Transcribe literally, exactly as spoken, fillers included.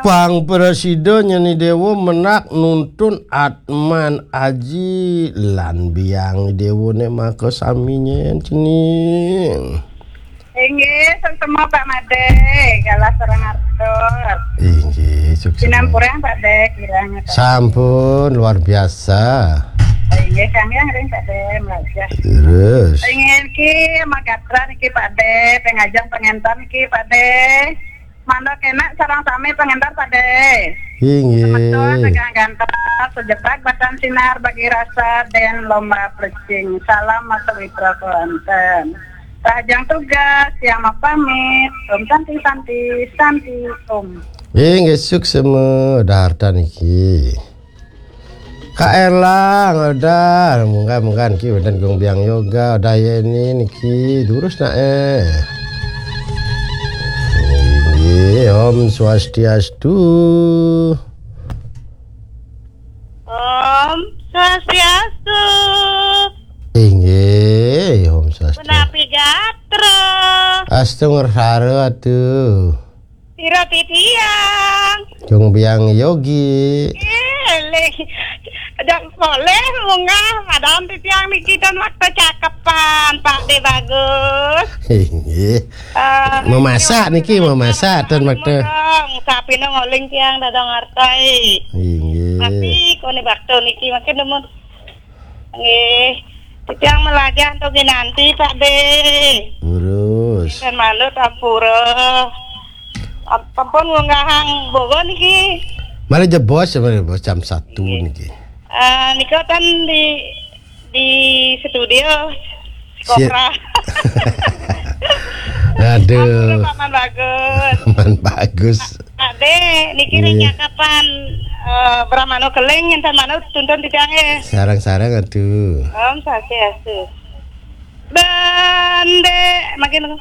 Pang prasida nyeni dewa menak nuntun atman aji lan biang dewa nek maka sami nyen cening. Inggih, suksma Pak Made, galah sareng artos. Inggih, suksma. Sinampurang Pak De, kirang. Sampun luar biasa. Inggih, kang yang ring Pak De, melajah. Terus. Inggih, ki magatra niki Pak De, pengajeng pengentan niki Pak De. Mandok enak sareng sami pengentan Pak De. Inggih. Semeton tegang ganteng, sejepak batan sinar bagi rasa dan lomba plecing. Salam Mas Witra Kelantan. Rahajeng tugas, yang mau pamit. Om Santi, Santi, Santi, Om. Inggih, suksma, daharta niki. Kak Erlang, udah, munggah-munggah niki, udah Gung Biang Yoga, udah ya ini niki, durus nak eh. Inggih, Om Swastiastu. Om Swastiastu. Inggih, Om Swastiastu. Punapi gatra? Astu ngersara atuh. Pira titiang? Gung Biang Yogi. Eh, leh. Dak boleh munggah, padahal titiang niki ten waktu cakepan, Pak De bagus. Inggih. Eh, memasak niki, memasak ten waktu. Ngomong, sapine ngoling tiang dadong artai. Inggih. Tapi kone bakto niki makin demen. Nggih. Titiang melajah untuk ginanti, Pak De. Terus. Dan manut ampura. Ampun ngunggahang bogo niki. Mari jebos, mari jebos jam satu niki. Eh, nika kan di, di studio. Si- Kopra. Aduh. Ampun, Paman Bagus. Paman Bagus. Ade, niki ring, iya, nyakapan, eh, Brahmano Keling, enten manut tuntun titiang, eh. Sarang-sarang atuh. Om Swastiastu. Bande, makin